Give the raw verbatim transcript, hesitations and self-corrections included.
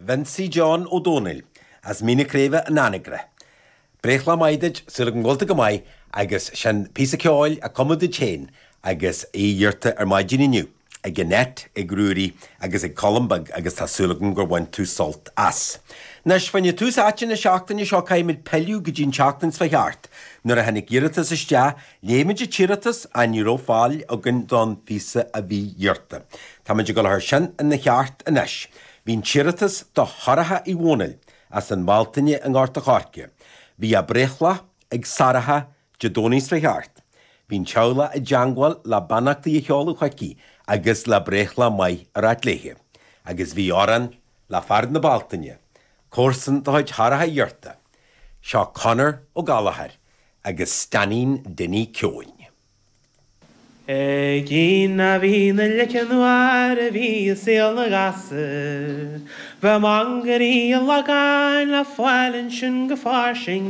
Vincie John Ó Dónaill as Mín na Craoibhe in Anagaire. Breithlá maith duit, súil agam go bhfuil tú go maith agus sin píosa ceoil a cumadh duit féin agus é iarrta ar maidin inniu ag Annette, ag Ruairí agus ag Colm Beag agus tá súil agam gur bhain tú sult as. Anois fá choinne tús áite na seachtaine seo caithfimid pilleadh go dtí an tseachtain seo thart. Nuair a tháinig iarratas isteach, léigh muid an t-iarratas ach ní raibh fáil againn don phíosa a bhí iarrta. Táimid ag dul a chur sin ina cheart anois. Bhí an t-iarratas do Shorcha Uí Dhónaill as an Bhealtaine i nGort a' Choirce. Bhí a breithlá ag Sorcha Dé Domhnaigh seo thart. Bhí an teaghlach i dteangmháil le beannachtaí a sheoladh chuici agus le breithlá maith a ráit léithe. Agus bhí amhrán le fear na Bealtaine, comharsan de chuid Shorcha iarrta. Seo Conor Ó Gallchóir agus Stainín Dinny Keohane. Ag na bhí na leice nuair a bhí saol na gasúr, Bheadh mangairí an Lagáin le fáil ansin go fairsing.